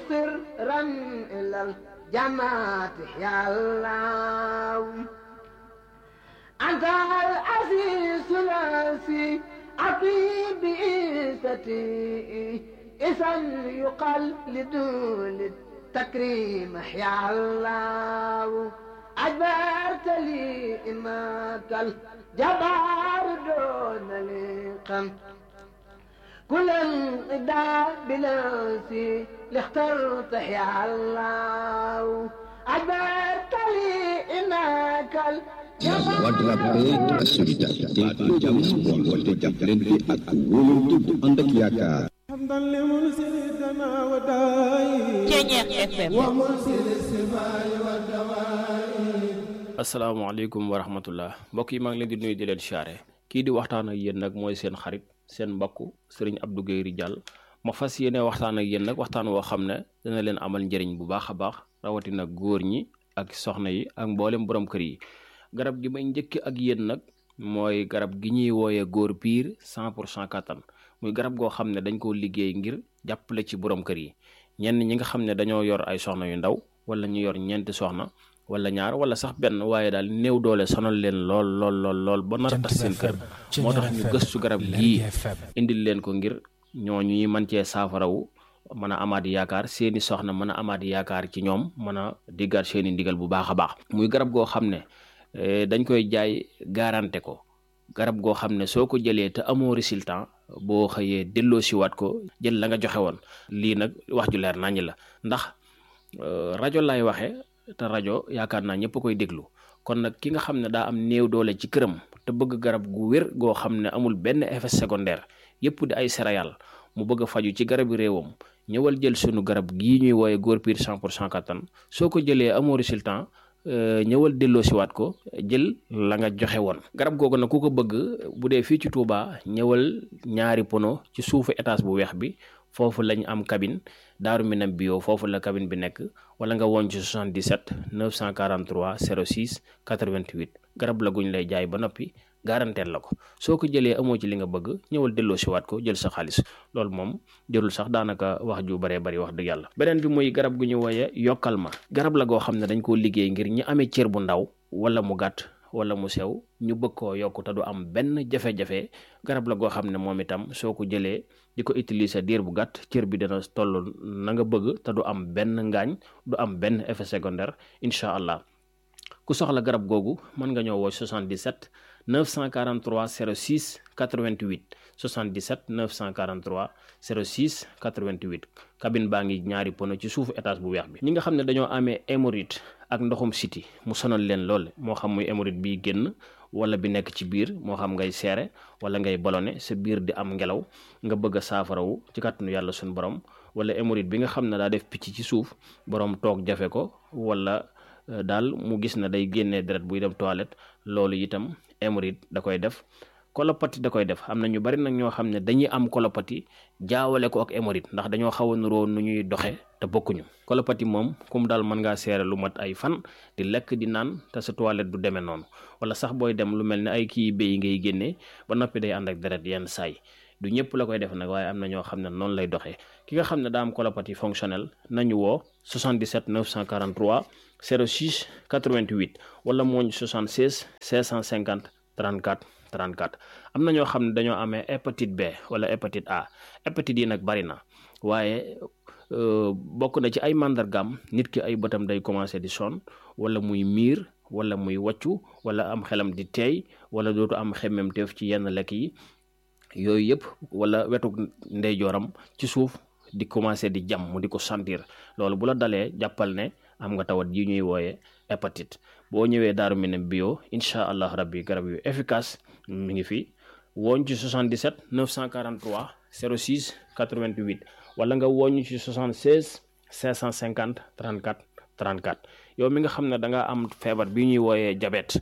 سرا إلى الجنات يا الله أنت العزيز العزي عطيب بإيستي إذا يقال لدول التكريم يا الله أجبرت لي إنك الجبار دون لقم كل انقضاء بلاسي لاخترت يا الله أجبرت لي إنك La voix de la paix, de la solidarité, de dialogue, de jàppalante ak wóolante bu ànd ak yaakaar. asalaamaaleykum wa rahmatullah mbokk yi maa ngi leen di nuyu di leen siyaare kii di waxtaan ak yéen nag mooy seen xarit seen mbokk sëriñ Abdou Guèye Ridial ma fas yéene waxtaan ak yéen nag waxtaan woo xam ne dina leen amal njëriñ bu baax a baax rawatina góor ñi ak soxna yi ak mboolem borom kër yi. garab gi may njëkk ak yéen nag mooy garab gi ñuy wooyee góor piir 100% kattan muy garab goo xam ne dañ koo liggéey ngir jàppale ci borom kër yi ñenn ñi nga xam ne dañoo yor ay soxna yu ndaw wala ñu yor ñeenti soxna wala ñaar wala sax benn waaye daal néew doole sonal leen lool ba nar a tas seen kër moo tax ñu gëstu garab gii indil leen ko ngir ñooñu ñuy mën cee saafarawu mën a amaat yaakaar seeni soxna mën a amaat yaakaar ci ñoom mën a diggaat seeni ndigal bu baax a baax muy garab goo xam ne dañ koy jaay garanté ko garab goo xam ne soo ko jëlee te amoo résultat boo xëyee delloo siwaat ko jël la nga joxe woon lii nag wax ju leer naññ la ndax rajo lay waxe te rajo yaakaar naa ñëpp koy déglu kon nag ki nga xam ne daa am néew doole ci këram te bëgg garab gu wér goo xam ne amul benn effet secondaire yëpp di ay céréales mu bëgg a faju ci garabi réewam ñëwal jël sunu garab gii ñuy wooye góor piir 100% kattan soo ko jëlee amoo résultat ñëwal delloo siwaat ko jël la nga joxe woon garab googu nag ku ko bëgg bu dee fii ci Touba ñëwal ñaari pono ci suufu étage bu weex bi foofu lañ am cabine Daaru Minam bio foofu la cabine bi nekk wala nga woon ci 77 943 06 88 garab la guñ lay jaay ba noppi garanteel la ko soo ko jëlee amoo ci li nga bëgg ñëwal delloo siwaat ko jël sa xaalis loolu moom jërul sax daanaka wax ju baree bari wax dëgg yàlla beneen bi muy garab gu ñu wooye yokkal ma garab la goo xam ne dañ koo liggéey ngir ñi amee cër bu ndaw wala mu gàtt wala mu sew ñu bëgg koo yokk te du am benn jafe-jafe garab la goo xam ne moom itam soo ko jëlee di ko utiliser diir bu gàtt cër bi dana toll na nga bëgg te du am benn ngaañ du am benn effet secondaire incha allah ku soxla garab googu mën nga ñëw woo 77 943 06 88 77 943 06 88 cabine baa ngi ñaari pono ci suufu étage bu weex bi ñi nga xam ne dañoo amee hémorroïde ak ndoxum siti mu sonal leen lool moo xam muy hémorroïde bi génn wala bi nekk ci biir moo xam ngay seere wala ngay ballonné sa biir di am ngelaw nga bëgg a saafarawu ci kàttanu yàlla suñu borom wala hémorroïde bi nga xam ne daa def picc ci suuf borom toog jafe ko wala daal mu gis na day génnee deret buy dem toilette loolu itam hémorroïde da koy def colopathie da koy def am na ñu bari nag ñoo xam ne dañuy am colopathie jaawale ko ak hémorroïde ndax dañoo xaw a nuroo nu ñuy doxe te bokkuñu colopathie moom comme daal mën ngaa seere lu mat ay fan di lekk di naan te sa toilette du demee noonu wala sax booy dem lu mel ne ay kii béy ngay génnee ba noppi day ànd ak deret yenn saay du ñëpp la koy def nag waaye am na ñoo xam ne noonu lay doxee ki nga xam ne daa am colopathie fonctionnelle nañu woo 77 943 06 88 wala mooñ 76 650 34 34 am na ñoo xam ne dañoo amee hépatite B wala hépatite A hépatite yi nag bari na waaye bokk na ci ay màndargaam nit ki ay bëtam day commencé di sonn wala muy miir wala muy wàccu wala am xelam di teey wala dootu am xemmemteef ci yenn lekk yi yooyu yëpp wala wetu ndeyjooram ci suuf di commencé di jam mu di ko sentir loolu bu la dalee jàppal ne am nga tawat yi ñuy wooye hépatite boo ñëwee Daaru Minam bio incha allah rabbi garab yu efficace mi ngi fi wooñ ci 77 943 06 88 wala nga wooñ ci 76 550 34 34 yow mi nga xam ne da nga am feebar bi ñuy wooyee diabète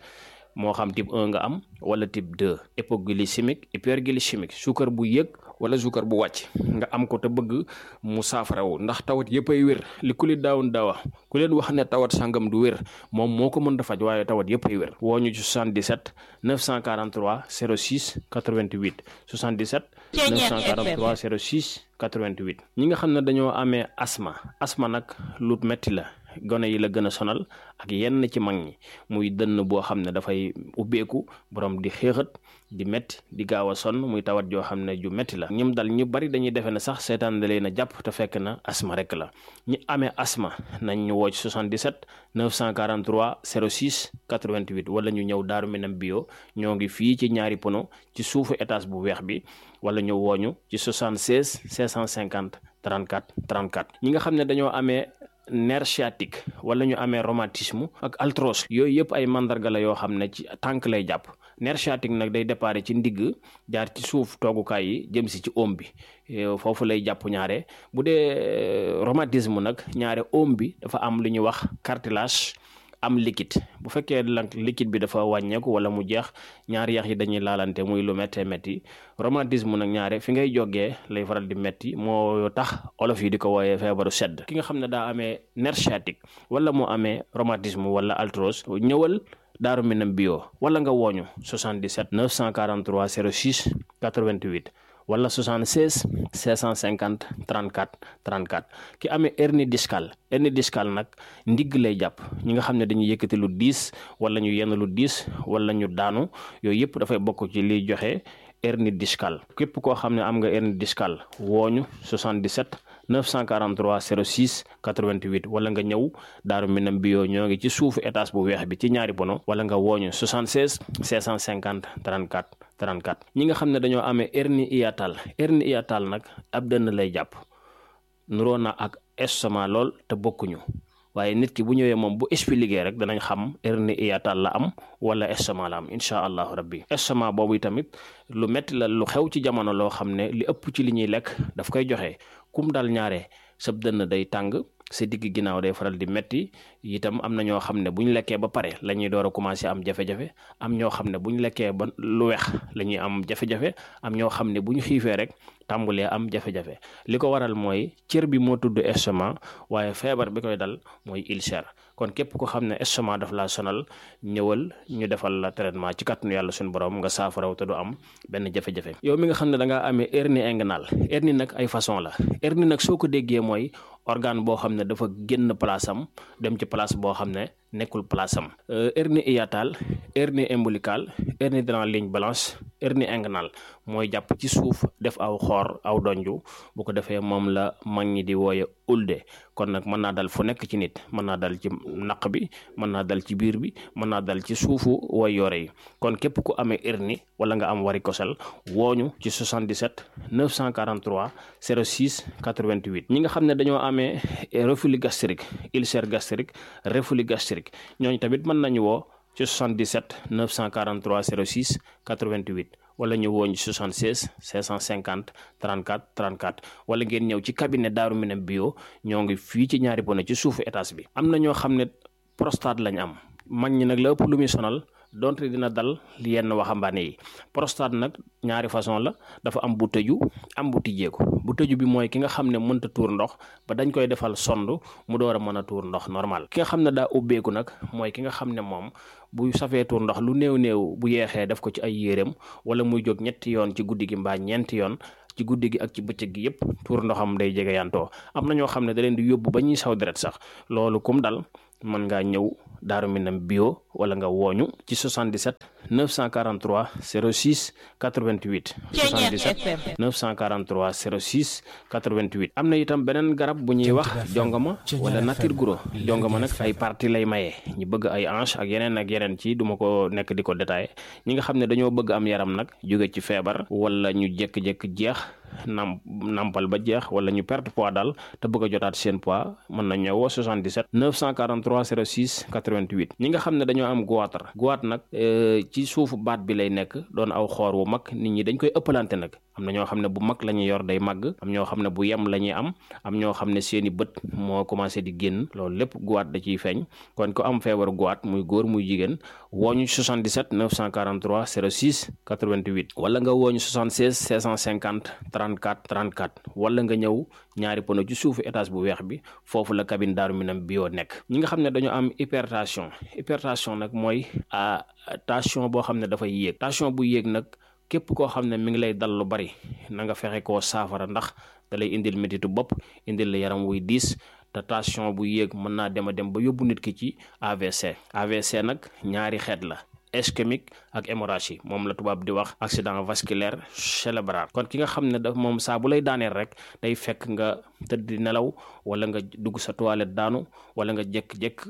moo xam type 1 nga am wala type 2 hypoglycémique hyperglycémique suukar bu yëg wala suukar bu wàcc nga am ko te bëgg mu saafarawu ndax tawat yëpp ay wér li ku li daawun daawa ku leen wax ne tawat sangam du wér moom moo ko mën a faj waaye tawat yëpp ay wér woo ñu ci 77 943 06 88 77 943 06 88. ñi nga xam ne dañoo amee asma nag lu metti la gone yi la gën a sonal ak yenn ci mag ñi muy dënn boo xam ne dafay ubbeeku borom di xéexat di metti di gaaw a sonn muy tawat joo xam ne ju metti la ñim dal ñu bari dañuy defe ne sax seetaan da leen a jàpp te fekk na asma rek la ñi amee asma nañ ñu woo ci 77 943 06 88 wala ñu ñëw Daaru Minam bio ñoo ngi fii ci ñaari pono ci suufu étage bu weex bi wala ñu wooñu ci 76 550 34 34 ñi nga xam ne dañoo amee nerf sciatique wala ñu amee rhumatisme ak arthrose yooyu yëpp ay mandarga la yoo xam ne ci tànk lay jàpp nerf sciatique nag day déparé ci ndigg jaar ci suuf toogukaay yi jëm si ci oom bi foofu lay jàpp ñaare bu dee rhumatisme nag ñaare oom bi dafa am lu ñuy wax cartilage am liquide bu fekkee nag liquide bi dafa wàññeeku wala mu jeex ñaari yax yi dañuy laalante muy lu méttee métti rhumatisme nag ñaare fi ngay jógee lay faral di métti moo tax olof yi di ko wooyee feebaru sedd ki nga xam ne daa amee nerf sciatique wala moo amee rhumatisme wala arthrose ñëwal Daaru Minam bio wala nga wooñu 77 943 06 88 wala 76 550 34 34 ki amee hernie discale nag ndigg lay jàpp ñi nga xam ne dañuy yëkkati lu diis wala ñu yenn lu diis wala ñu daanu yooyu yëpp dafay bokk ci liy joxe hernie discale képp koo xam ne am nga hernie discale wooñu 77 943 06 88 wala nga ñëw Daaru Minam bio ñoo ngi ci suufu étage bu weex bi ci ñaari pono wala nga wooñu 76 550 34 34 ñi nga xam ne dañoo amee hernie hiatale nag ab dënn lay jàpp nuroo na ak estomac lool te bokkuñu waaye nit ki bu ñëwee moom bu expliqué rek danañ xam hernie hiatale la am wala estomac la am incha allahu rabbi estomac boobu tamit lu metti la lu xew ci jamono loo xam ne li ëpp ci li ñuy lekk daf koy joxe kum dal ñaare sab dënn day tàng sa digg ginnaaw day faral di metti itam am na ñoo xam ne bu ñu lekkee ba pare la ñuy door a commencé am jafe-jafe am ñoo xam ne bu ñu lekkee ba lu weex la ñuy am jafe-jafe am ñoo xam ne bu ñu xiifee rek tàmbulee am jafe-jafe li ko waral mooy cër bi moo tudd estomac waaye feebar bi koy dal mooy ulcère kon képp ko xam ne estomac daf laa sonal ñëwal ñu defal la traitement ci kàttanu yàlla suñu borom nga saafaraw te du am benn jafe-jafe yow mi nga xam ne da ngaa amee hernie inguinale hernie nag ay façon la hernie nag soo ko déggee mooy organe boo xam ne dafa génn place am dem ci place boo xam ne nekkul place am hernie hiatale hernie ombilicale hernie dans la ligne blanche hernie inguinale mooy jàpp ci suuf def aw xoor aw donju bu ko defee moom la mag ñi di wooye ulde kon nag mën naa dal fu nekk ci nit mën naa dal ci naq bi mën naa dal ci biir bi mën naa dal ci suufu way yore yi kon képp ku amee hernie wala nga am varicocèle wooñu ci 77 943 06 88 ñi nga xam ne dañoo amee reflux gastrique ulcère gastrique reflux gastrique ñooñu tamit mën nañu woo ci 77 943 06 88 wala ñu woo ñu 76 550 34 34 wala ngeen ñëw ci cabinet Daaru Minam bio ñoo ngi fii ci ñaari pono ci suufu étage bi. am na ñoo xam ne prostate lañ am mag ñi nag la ëpp lu muy sonal donte dina dal yenn waxambaane yi prostate nag ñaari façon la dafa am bu tëju am bu tijjeeku bu tëju bi mooy ki nga xam ne mënta tuur ndox ba dañ koy defal sond mu door a mën a tuur ndox normal ki nga xam ne daa ubbeeku nag mooy ki nga xam ne moom bu safee tuur ndox lu néew bu yeexee def ko ci ay yéreem wala muy jóg ñetti yoon ci guddi gi mbaa ñeenti yoon ci guddi gi ak ci bëccëg gi yëpp tuur ndoxam day jege yantoo am na ñoo xam ne da leen di yóbbu ba ñuy saw deret sax loolu kum dal mën ngaa ñëw Daaru Minam bio wala nga wooñu ci 77 943 06 88 77 943 06 88 am na itam beneen garab bu ñuy wax jongama wala nature guro jongama nag ay partie lay maye ñu bëgg ay hanche ak yeneen ci duma ko nekk di ko détaillé ñi nga xam ne dañoo bëgg am yaram nag jóge ci feebar wala ñu jékki-jékki jeex nampal ba jeex wala ñu perte poids daal te bëgg a jotaat seen poids mën na ñëwoo 77 943 06 88 ñi nga xam ne dañoo am goitre nag ci suufu baat bi lay nekk doon aw xoor wu mag nit ñi dañ koy ëppalante nag am na ñoo xam ne bu mag la ñuy yor day màgg am ñoo xam ne bu yem la ñuy am ñoo xam ne seeni bët moo commencé di génn loolu lépp goitre da ciy feeñ kon ko am feebaru goitre muy góor muy jigéen wooñu 77 943 06 88 wala nga wooñu 76 650 34 34 wala nga ñëw ñaari pono ci suufu étage bu weex bi foofu la cabine Daaru Minam bio nekk ñi nga xam ne dañoo am hypertension nag mooy tension boo xam ne dafay yéeg tension bu yéeg nag képp koo xam ne mi ngi lay dal lu bari na nga fexe koo saafara ndax da lay indil métitu bopp indil la yaram wuy diis te tension bu yéeg mën naa dem a dem ba yóbbu nit ki ci AVC nag ñaari xeet la ischémique ak hémorragie moom la tubaab di wax accident vasculaire cérébral kon ki nga xam ne daf moom saa bu lay daaneel rek day fekk nga tëdd di nelaw wala nga dugg sa toilette daanu wala nga jékk-jékk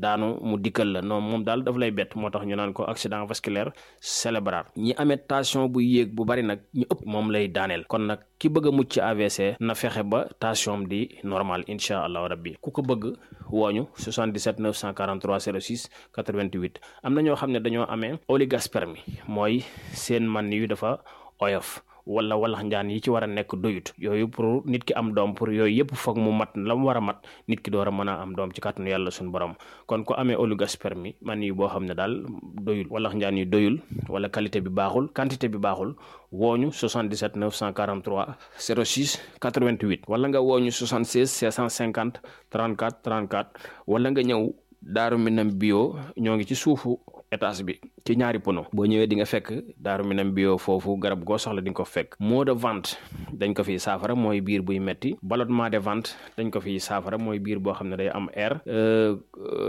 daanu mu dikkal la non moom daal daf lay bett moo tax ñu naan ko accident vasculaire cérébral ñi amee tension bu yéeg bu bari nag ñu ëpp moom lay daaneel kon nag ki bëgg a mucc ci AVC na fexe ba tension di normal incha allahu rabbi ku ko bëgg wooñu 77 943 06 88 am na ñoo xam ne dañoo amee oligospermie mooy seen man yu dafa oyof wala walax njaan yi ci war a nekk doyut yooyu pour nit ki am doom pour yooyu yëpp foog mu mat la mu war a mat nit ki door a mën a am doom ci kàttanu yàlla suñu borom kon ko amee oligospermie man yi boo xam ne daal doyul walax njaan yi doyul wala qualité bi baaxul quantité bi baaxul wooñu 77 943 06 88 wala nga wooñu 76 650 34 34 wala nga ñëw Daaru Minam bio ñoo ngi ci suufu étage bi ci ñaari pono boo ñëwee di nga fekk Daaru Minam bio foofu garab goo soxla di nga ko fekk maux de ventre dañ ko fiy saafara mooy biir buy metti ballonnement de ventre dañ ko fiy saafara mooy biir boo xam ne day am air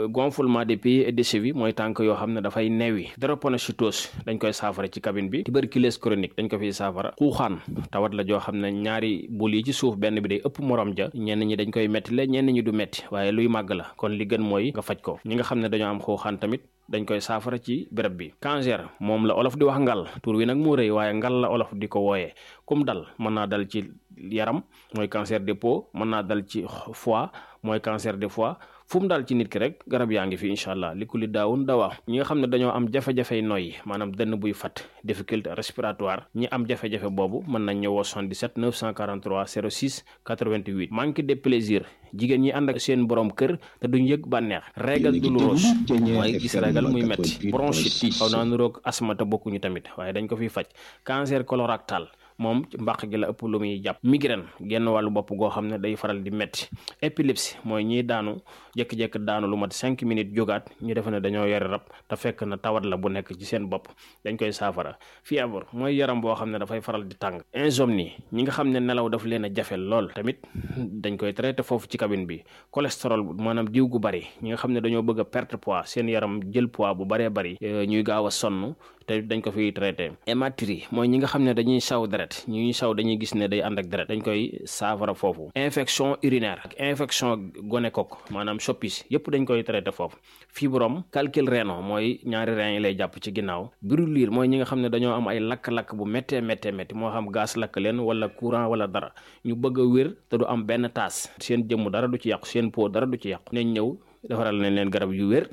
gonflement des pieds et des chevilles mooy tànk yoo xam ne dafay neewi drépanocytose dañ koy saafara ci cabine bi tuberculose chronique dañ ko fiy saafara xuuxaan tawat la joo xam ne ñaari bul yi ci suuf benn bi day ëpp morom ja ñenn ñi dañ koy metti la ñenn ñi du metti waaye luy màgg la kon li gën mooy nga faj ko ñi nga xam ne dañoo am xuuxaan tamit dañ koy saafara ci béréb bi cancer moom la olof di wax ngal tur wi nag moo rëy waaye ngal la olof di ko wooyee kum dal mën naa dal ci yaram mooy cancer des peaux mën naa dal ci foie mooy cancer des foie fu mu daal ci nit ki rek garab yaa ngi fi incha allah li ku li daawun dawaa ñi nga xam ne dañoo am jafe-jafey noyyi maanaam dënn buy fat difficulté respiratoire ñi am jafe-jafe boobu mën nañ ñëwoo 77 943 06 88 manque de plaisir jigéen ñi ànd ak seen borom kër te duñ yëg bànneex régal douloureuse mooy gis régal muy metti bronchite xaw naa nuroog asthme te bokkuñu tamit waaye dañ ko fiy faj cancer colorectal moom ci mbàq gi la ëpp lu muy jàpp migraine genn wàllu bopp goo xam ne day faral di metti épilepsie mooy ñiy daanu jékki-jékki daanu lu mat 5 minutes jógaat ñu defe ne dañoo yore rab te fekk na tawat la bu nekk ci seen bopp dañ koy saafara fièvre mooy yaram boo xam ne dafay faral di tàng insomnie ñi nga xam ne nelaw daf leen a jafe lool tamit dañ koy traité foofu ci cabine bi cholestérol maanaam diw gu bari ñi nga xam ne dañoo bëgg a perte poids seen yaram jël poids bu baree bari ñuy gaaw a sonn te dañ ko fiy traité hématurie mooy ñi nga xam ne dañuy saw deret ñuy saw dañuy gis ne day ànd ak deret dañ koy saafara foofu infection urinaire ak infection gonocoque maanaam soppis yëpp dañ koy traité foofu fibrome calcul rénal mooy ñaari rein yi lay jàpp ci ginnaaw brûlure mooy ñi nga xam ne dañoo am ay lakk-lakk bu méttee moo xam gaz lakk leen wala courant wala dara ñu bëgg a wér te du am benn taas seen jëmm dara du ci yàqu seen peau dara du ci yàqu nañ ñëw defaral nañ leen garab yu wér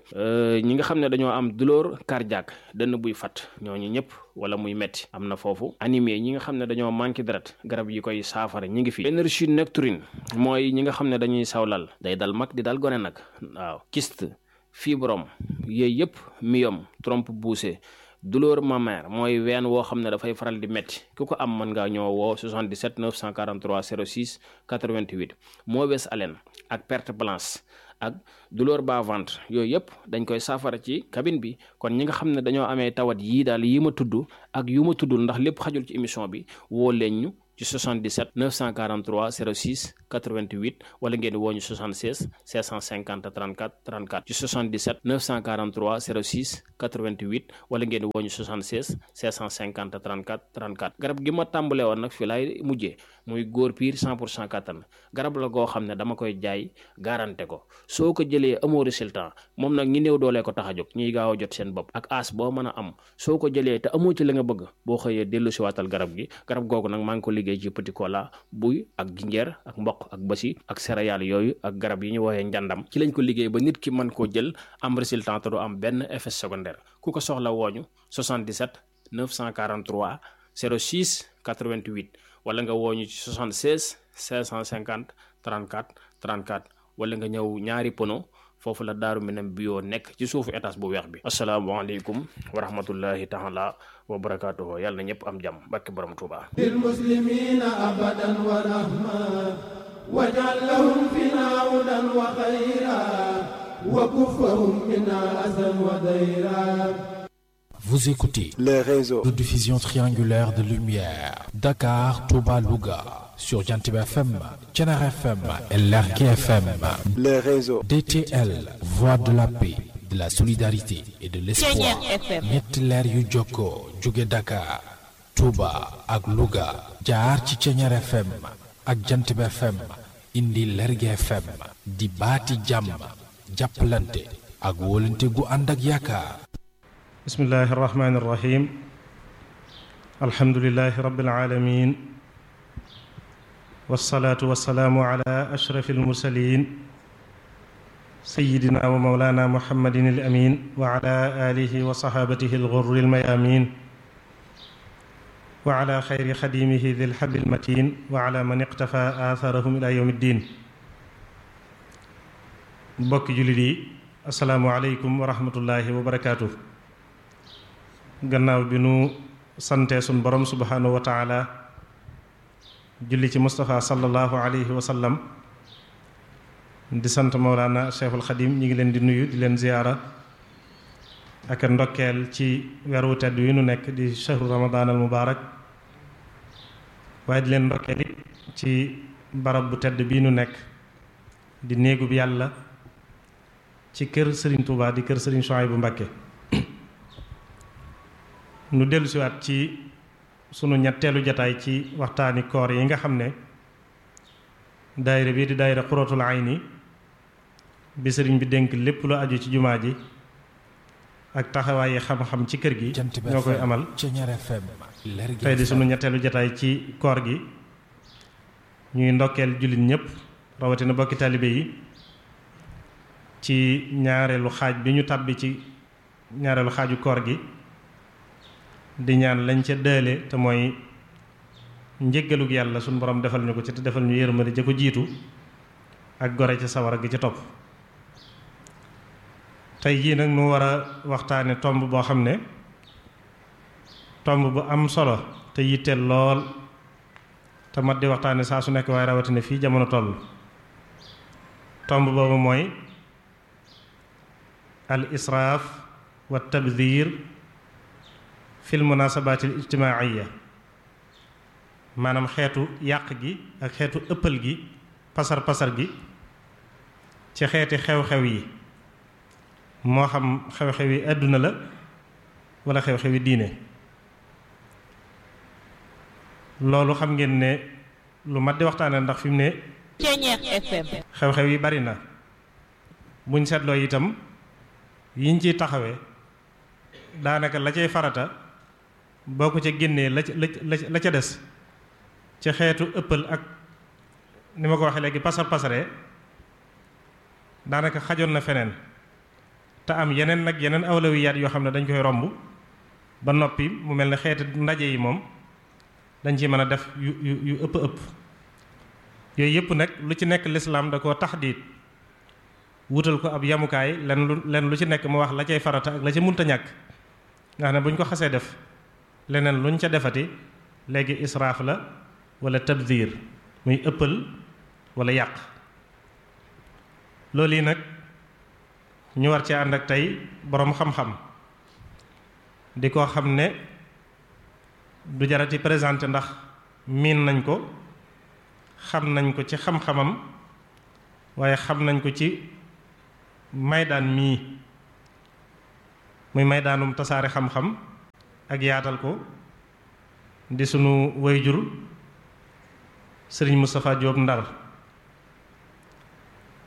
ñi nga xam ne dañoo am douleur cardiaque dënn buy fat ñooñu ñëpp wala muy metti am na foofu anémie ñi nga xam ne dañoo manqué deret garab yi koy saafara ñi ngi fi énergie nocturne mooy ñi nga xam ne dañuy sawlal day dal mag di dal gone nag waaw kyste fibrome yooyu yëpp myome trompe poussée douleur mammaire mooy ween woo xam ne dafay faral di metti ku ko am mën ngaa ñëw woo 77 943 06 88 mauvaise haleine ak perte blanche ak douleur bas-ventre yooyu yëpp dañ koy saafara ci cabine bi kon ñi nga xam ne dañoo amee tawat yii daal yi ma tudd ak yu ma tuddul ndax lépp xajul ci émission bi woo leen ñu ci 77 943 06 88 wala ngeen woo ñu 76 650 34 34 ci 77 943 06 88 wala ngeen woo ñu 76 650 34 34 garab gi ma tàmbale woon nag fi laay mujjee muy góor piir 100% kattan garab la goo xam ne dama koy jaay garanté ko soo ko jëlee amoo résultat moom nag ñi néew doolee ko tax a jóg ñiy gaaw a jot seen bopp ak as boo mën a am soo ko jëlee te amoo ci la nga bëgg boo xëyee dellu si waatal garab gi garab googu nag maa ngi ko liggéey ci petit cola buy ak jinjeer ak mboq ak basi ak céréales yooyu ak garab yi ñu woowee njàndam ci lañ ko liggéey ba nit ki mën koo jël am résultat te du am benn effet secondaire ku ko soxla wooñu 77 943 06 88 wala nga wooñu ci 76 550 34 34 wala nga ñëw ñaari pono foofu la Daaru Minam bio nekk ci suufu étage bu weex bi asalaamaaleykum wa rahmatullahi taala wa barakaatuhu yàlla na ñëpp am jàmm barke borom Tuuba lil muslimina abadan wa rahma waj'al lahum fina hudan wa khayra wa kuffahum minna azan wa dayra. Vous écoutez le réseau de diffusion triangulaire de lumière Dakar, Touba, Louga sur Jantib FM, Thiénaba FM et Lergui FM. le réseau DTL, voix de la paix, de la solidarité et de l'espoir. ñetti leer yu jokkoo jóge Dakar, Touba ak Louga jaar ci Thiénaba FM ak Jantib FM indi Lergui FM di baati jàmm jàppalante ak wóolante gu ànd ak yaakaar. bismillahi irrahmani irrahim alhamdulilahi rabbil alamin wassalaatu wassalaamu ala ashrafi almursalin sayidina wa mawlana muhammadin al amin wa ala alihi wa sahabatihi alghurri almayamin wa ala xayri xadimihi dhi lhabi almatin wa ala man iqtafa atharahum ila yawmi ddin. mbokki jullit yi asalaamu aleykum wa rahmatullahi wa barakaatuh. gannaaw bi nu sante sun borom subhanahu wa taala julli ci Mustafa sallallahu alayhi wa sallam di sant Mawlana Cheikhul Xadim ñi ngi leen di nuyu di leen ziyaara ak ndokkeel ci weeru tedd wi nu nekk di shahru ramadan al mubarak waaye di leen ndokkeel it ci barab bu tedd bii nu nekk di néegub yàlla ci kër Serigne Touba di kër Serigne Souhaïbou Mbacké. nu dellusiwaat ci sunu ñetteelu jataay ci waxtaani koor yi nga xam ne daayira bi di daayira Qurratul Ayni bi sëriñ bi dénk lépp lu aju ci jumaa ji ak taxawaayi xam-xam ci kër gi ñoo koy amal tey di sunu ñetteelu jataay ci koor gi ñuy ndokkeel jullit ñépp rawatina bokki taalibe yi ci ñaareelu xaaj bi ñu tàbbi ci ñaareelu xaaju koor gi di ñaan lañ ca dëale te mooy njéggalug yàlla suñu borom defal ñu ko ci te defal ñu yërmande ja ko jiitu ak gore ca sawara gi ca topp. tey jii nag nu war a waxtaane tomb boo xam ne tomb bu am solo te yitteel lool te mat di waxtaane saa su nekk waaye rawatina fii jamono toll. tomb boobu mooy al israaf wa tabdir fil munaasabatil ijtimaaiya, maanaam xeetu yàq gi ak xeetu ëppal gi pasar gi ci xeeti xew-xew yi moo xam xew-xew yi àdduna la wala xew-xew yi diine. loolu xam ngeen ne lu mat di waxtaane ndax fi mu ne xew-xew yi bari na buñ seetloo itam yiñ ciy taxawee daanaka la cay farata boo ko ca génnee la ca des ci xeetu ëppal ak ni ma ko waxee léegi pasaree daanaka xajoon na feneen te am yeneen awlawiyaat yoo xam ne dañ koy romb ba noppi mu mel ne xeeti ndaje yi moom dañ ci mën a def yu ëpp yooyu yëpp nag lu ci nekk lislaam da koo taxdiit wutal ko ab yamukaay len lu ci nekk mu wax la cay farata ak la ca munta ñàkk nga xam ne bu ñu ko xasee def leneen luñ ca defati léegi israaf la wala tabdir muy ëppal wala yàq. loolu yi nag ñu war ci ànd ak tey boroom xam-xam di ko xam ne du jarati présenté ndax miin nañ ko xam nañ ko ci xam-xamam waaye xam nañ ko ci maydaan mii muy maydaanum tasaare xam-xam ak yaatal ko di sunu wayjur sëriñ Moustapha Diop Ndar.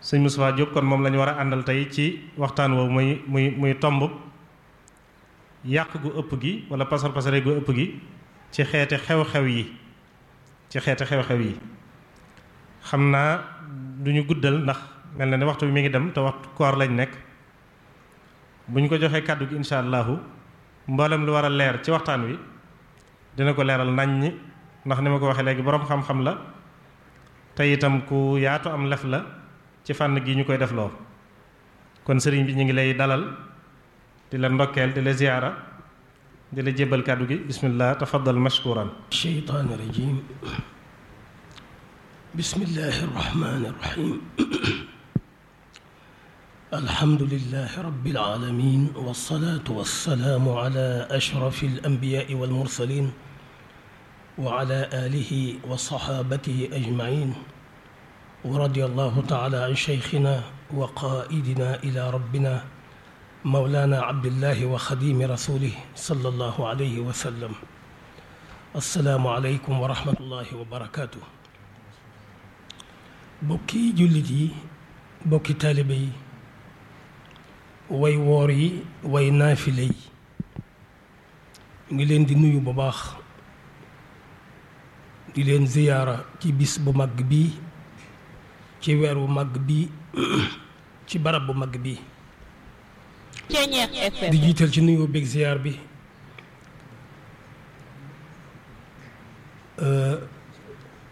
sëriñ Moustapha Diop kon moom lañu war a àndal tey ci waxtaan woowu muy tomb yàq gu ëpp gi wala pasare gu ëpp gi ci xeeti xew-xew yi xam naa duñu guddal ndax mel na ne waxtu bi mi ngi dem te waxtu koor lañ nekk bu ñu ko joxee kàddu gi insha allahu mboolem lu war a leer ci waxtaan wi dina ko leeral naññi ndax ni ma ko waxee léegi boroom xam-xam la te itam ku yaatu am lef la ci fànn gi ñu koy def loo kon sëriñ bi ñu ngi lay dalal di la ndokkeel di la ziyaara di la jébbal kàddu gi bismillah tafaddal mashkuran. sheytaani rajim bismillahi rahmani rahim الحمد لله رب العالمين والصلاة والسلام على أشرف الأنبياء والمرسلين وعلى آله وصحابته أجمعين ورضي الله تعالى عن شيخنا وقائدنا إلى ربنا مولانا عبد الله وخديم رسوله صلى الله عليه وسلم السلام عليكم ورحمة الله وبركاته بوكي جلدي بوكي طالبي way woor yi way naafile yi ngi leen di nuyu bu baax di leen ziyaara ci bis bu mag bi ci weer bu mag bi ci barab bu mag bi di jiital ci nuyu beeg ziyaar bi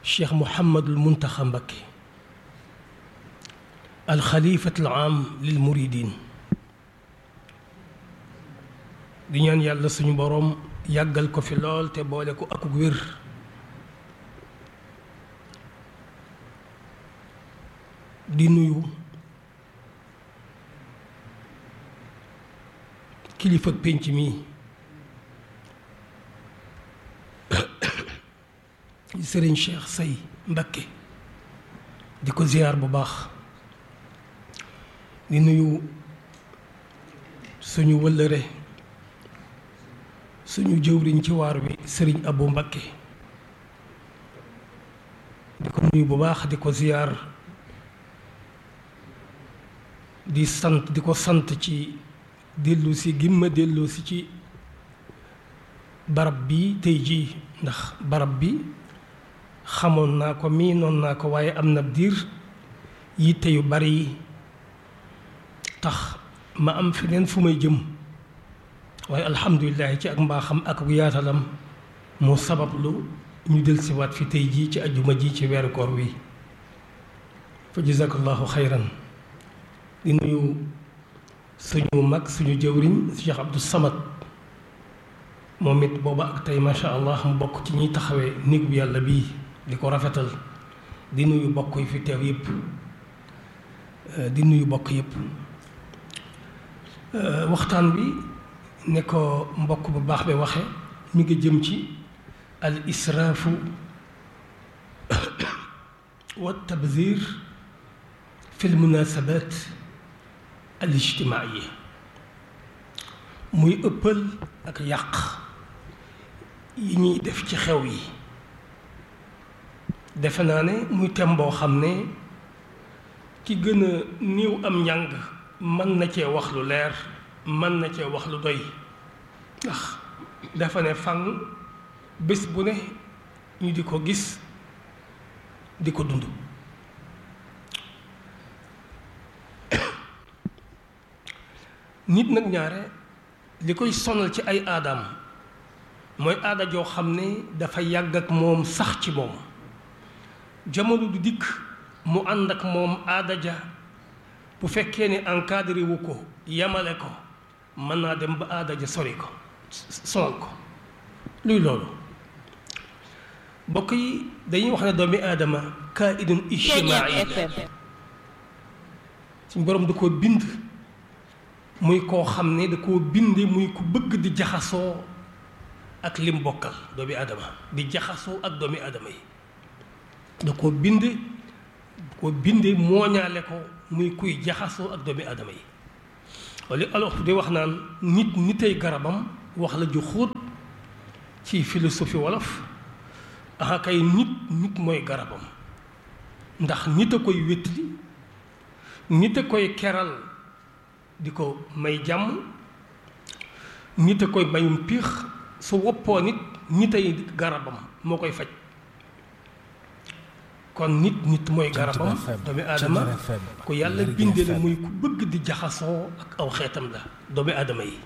Cheikh Mouhamadul Muntaxa Mbakke al xalifatul aam lil muridin di ñaan yàlla suñu boroom yàggal ko fi lool te boole ko ak wér di nuyu kilifa pénc mi Sëriñ Cheikh Say Mbakke di ko ziyaar bu baax di nuyu suñu wëllëre suñu jëwriñ ci waar wi sëriñ Abu Mbakke di ko nuyu bu baax di ko ziyaar di ko sant ci dellu si gimma dellu si ci barab bi tey jii ndax barab bi xamoon naa ko miinoon naa ko waaye am na diir yitte yu bari yi tax ma am feneen fu may jëm waaye alhamdulilah ci ak mbaaxam ak yaatalam moo sabablu ñu dellusiwaat fi tey jii ci ajjuma ji ci weeru koor wi fa jazakallahu xayran di nuyu suñu mag suñu jëwriñ Cheikh Abdou Samad moom it booba ak tey macha allah mu bokk ci ñuy taxawee néeg bu yàlla bii di ko rafetal di nuyu bokk yi fi teew yépp di nuyu bokk yépp waxtaan bi ne ko mbokk bu baax bi waxe mi ngi jëm ci al israafu wa tabzir fi l munasabat al ijtimaaiya muy ëppal ak yàq yi ñuy def ci xew yi defe naa ne muy tem boo xam ne ki gën a néew am njàng mën na cee wax lu leer mën na cee wax lu doy ndax dafa ne fang bés bu ne ñu di ko gis di ko dund nit nag ñaare li koy sonal ci ay aadaam mooy aada joo xam ne dafa yàgg ak moom sax ci moom jamono du dikk mu ànd ak moom aada ja bu fekkee ne encadré wu ko yamale ko mën naa dem ba aada ja sori ko sonal ko luy loolu mbokk yi dañuy wax ne doomi aadama kaa'idun ijtimaa'i suñu borom da koo bind muy koo xam ne da koo binde muy ku bëgg di jaxasoo ak lim bokkal doomi aadama di jaxasoo ak doomi aadama yi da koo binde mooñaale ko muy kuy jaxasoo ak doomi aadama yi wala alors di wax naan nitay garabam wax la ju xóot ci philosophie wolof aha kay nit mooy garabam ndax nit a koy wétli nit a koy keral di ko may jàmm nit a koy mayum piix su woppoo nitay garabam moo koy faj kon nit mooy garabam doomi aadama ku yàlla bindee la muy ku bëgg di jaxasoo ak aw xeetam la doomi aadama yi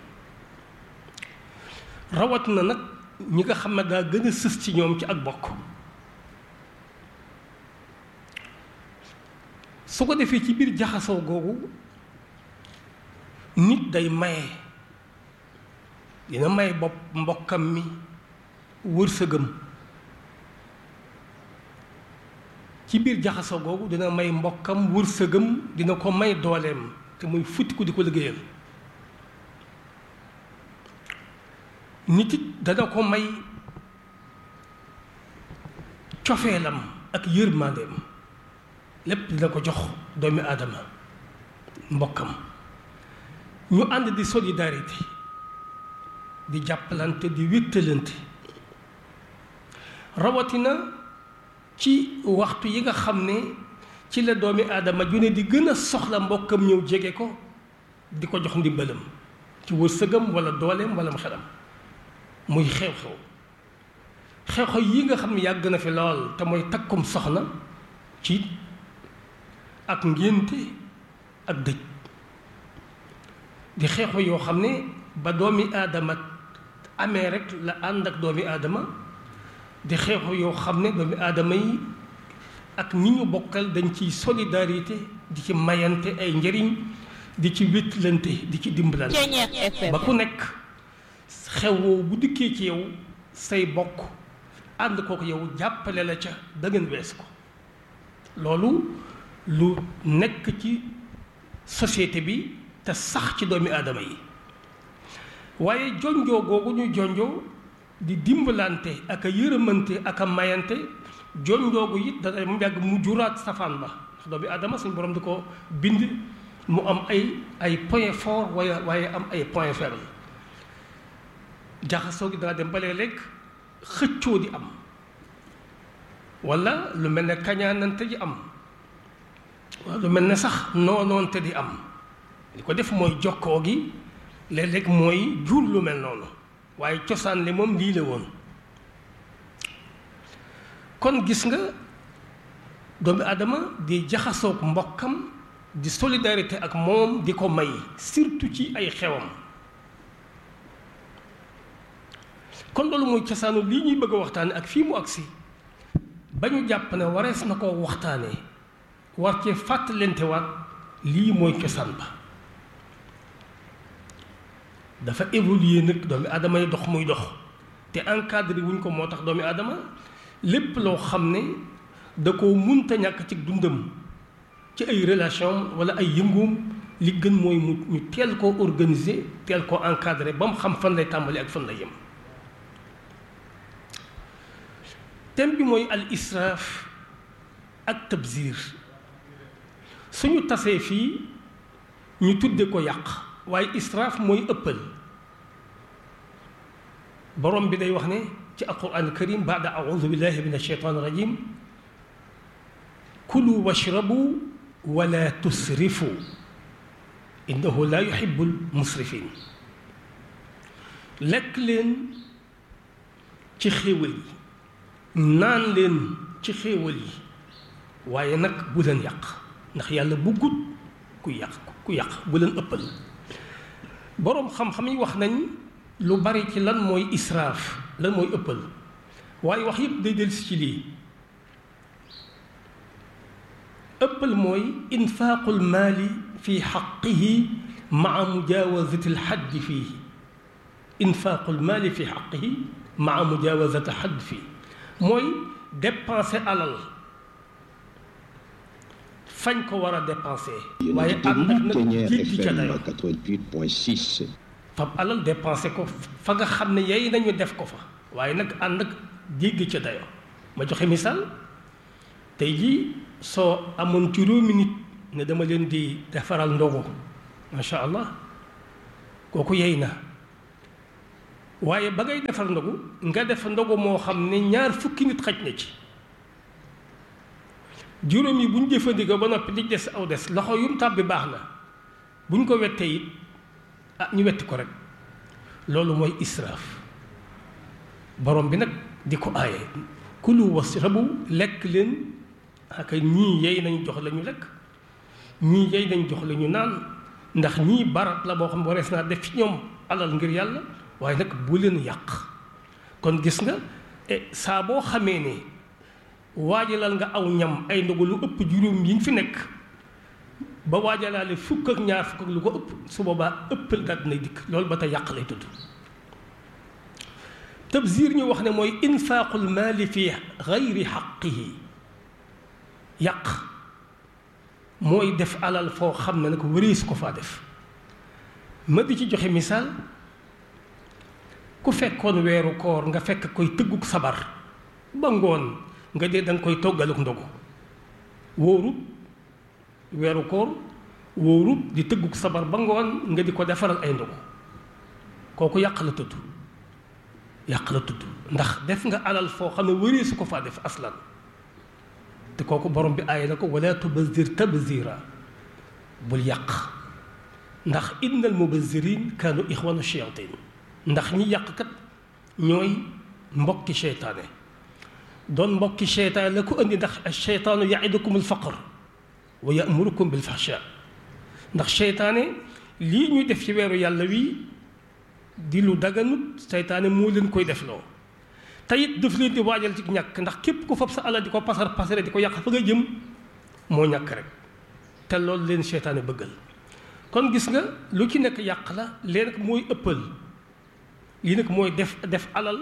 rawat na nag ñi nga xam ne daa gën a sës ci ñoom ci ak bokk su ko defee ci biir jaxasoo googu nit day maye dina may bopp mbokkam mi wërsëgam ci biir jaxasoo googu dina may mbokkam wërsëgam dina ko may dooleem te muy futtiku di ko liggéeyal. nit it dana ko may cofeelam ak yërmandeem lépp dina ko jox doomi aadama mbokkam ñu ànd di solidarité di jàppalante di wéttalante rawatina ci waxtu yi nga xam ne ci la doomi aadama ju ne di gën a soxla mbokkam ñëw jege ko di ko jox ndimbalam ci wërsëgam wala dooleem wala xelam muy xew-xew yi nga xam ne yàgg na fi lool te mooy takkum soxna ci ak ngénte ak dëj di xew-xew yoo xam ne ba doomi aadama amee rek la ànd ak doomi aadama di xew-xew yoo xam ne doomi aadama yi ak ñi ñu bokkal dañ ciy solidarité di ci mayante ay njëriñ di ci wéttalante di ci dimbalante ba ku nekk xew woowu bu dikkee ci yow say bokk ànd kook yow jàppale la ca da ngeen wees ko loolu lu nekk ci société bi te sax ci doomi aadama yi waaye jonjoo googu ñu jonjoo di dimbalante ak a yërëmante ak a mayante jonjoo gu it dana mu yàgg mu juraat safaan ba ndax doomi aadama suñu borom di ko bind mu am ay point fort waaye am ay point faible jaxasoo gi dana dem ba léeg-léeg xëccoo di am wala lu mel ne kañaanante di am wala lu mel ne sax noonoonte di am li ko def mooy jokkoo gi léeg-léeg mooy jur lu mel noonu waaye cosaan li moom lii la woon kon gis nga doomu aadama di jaxasoog mbokkam di solidarité ak moom di ko may surtout ci ay xewam kon loolu mooy cosaanu lii ñuy bëgg a waxtaane ak fii mu agsi ba ñu jàpp ne warees na koo waxtaanee war cee fàttalente waat lii mooy cosaan ba dafa évoluer nag doomi aadama yi dox muy dox te encadré wuñ ko moo tax doomi aadama lépp loo xam ne da koo munta ñàkk ci dundam ci ay relation wala ay yëngoom li gën mooy ñu teel koo organiser teel koo encadré ba mu xam fan lay tàmbali ak fan lay yem thème bi mooy al israaf ak tabzir suñu tasee fii ñu tudde ko yàq waaye israaf mooy ëppal borom bi day wax ne ci alquran karim baada audu billahi min alsheytan irajim kulu washrabu wala tusrifu innahu la yuhibu almusrifin lekk leen ci xéewal yi naan leen ci xéewal yi waaye nag bu leen yàq ndax yàlla buggut ku yàq bu leen ëppal boroom xam-xam yi wax nañ lu bari ci lan mooy israaf lan mooy ëppal waaye wax yépp day dellusi ci lii ëppal mooy infaaqul maali fi xaqihi maa mujaawazati alxaddi fiihi infaaqul maali fi xaqihi maa mujaawazati alxaddi fiihi mooy dépenser alal fañ ko war a dépenser waaye ànd ak nag jéggi ca dayoo 88.6 fab alal dépenser ko fa nga xam ne yey nañu def ko fa waaye nag ànd ak jéggi ca dayoo ma joxe misaal tey jii soo amoon juróomi nit ne dama leen di defaral ndogu macha allah kooku yey na waaye ba ngay defar ndogu nga def ndogu moo xam ne 2 fukki nit xaj na ci juróom yi bu ñu jëfandikoo ba noppi di des aw des loxo yum tàbbi baax na bu ñu ko wettee it ñu wetti ko rek loolu mooy israaf borom bi nag di ko aaye kulu washrabu lekk leen ak ñii yey nañu jox la ñu lekk ñii yey nañu jox la ñu naan ndax ñii barat la boo xam ne warees naa def ci ñoom alal ngir yàlla waaye nag bu leen yàq kon gis nga saa boo xamee ne waajalal nga aw ñam ay ndogu lu ëpp juróom yi nga fi nekk ba waajalaale 1 ak 2 fukk ak lu ko ëpp su boobaa ëppal daal dina dikk loolu ba tey yàq lay tudd tabzir ñu wax ne mooy infaaqul maali fi gayri xaqihi yàq mooy def alal foo xam ne nag wërees ko faa def. ma di ci joxe misaal ku fekkoon weeru koor nga fekk koy tëgguk sabar ba ngoon nga dee da nga koy toggaluk ndogu wóorut weeru koor wóorut di tëgguk sabar ba ngoon nga di ko defaral ay ndogu kooku yàq la tudd ndax def nga alal foo xam ne wëree su ko faa def aslan te kooku borom bi aay na ko wala tubazir tabzira bul yàq ndax innal mubazirin kaanu ixwanu shayatin ndax ñi yàqkat ñooy mbokki seytaane doon mbokki seytaane la ko indi ndax seytaanu yaidukum alfaqr wa yamurukum bilfahsha ndax seytaane lii ñuy def ci weeru yàlla wi di lu daganut seytaane moo leen koy defloo te it daf leen di waajal ci ñàkk ndax képp ku fab sa alal di ko pasare di ko yàq fa nga jëm moo ñàkk rek te loolu leen seytaane bëggal kon gis nga lu ci nekk yàq la leen nag mooy ëppal lii nag mooy def alal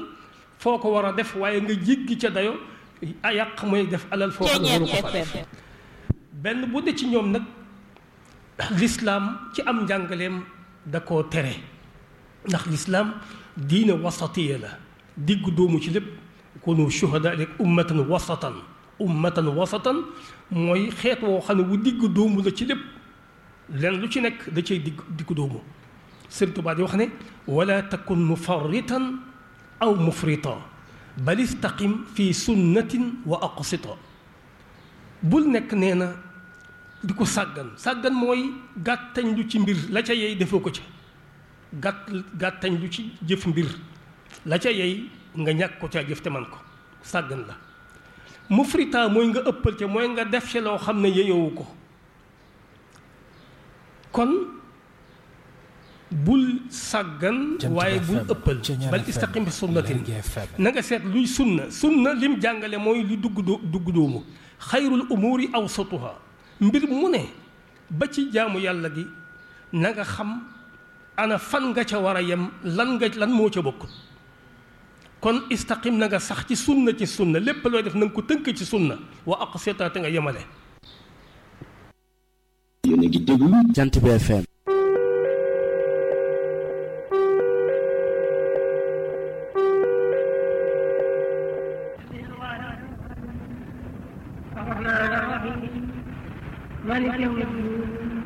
foo ko war a def waaye nga jéggi ca dayo a yàq mooy def alal foo xam ne waru ko fa def benn bu de ci ñoom nag lislaam ci am njàngaleem da koo tere ndax lislaam diine wasatiya la diggu doomu ci lépp kunu shuhada rek ummatan wasatan mooy xeet woo xam ne wu diggu doomu la ci lépp len lu ci nekk da cay diggu doomu Sëriñ Tuubaa di wax ne wala takun mufarritan aw mufrita bal istaqim fi sunnatin wa aqsita bul nekk nee na di ko sàggan mooy gàttañ lu ci mbir la ca yey defoo ko ca gàttañ lu ci jëf mbir la ca yey nga ñàkk ko ca jëf te man ko sàggan la mufrita mooy nga ëppal ca mooy nga def ci loo xam ne yeyowu ko kon bul sàggan waaye bul ëppal bal istaqim bi sunnatin na nga seet luy sunna lim jàngale mooy lu dugg doomu xayrul umuri awsatuha mbir mu ne ba ci jaamu yàlla gi na nga xam ana fan nga ca war a yem lan moo ca bokkul kon istaqim na nga sax ci sunna lépp looy def na nga ko tënk ci sunna wa aqsita te nga yemale. yéen a ngi déglu Jant bi FM. مالك يوم الدين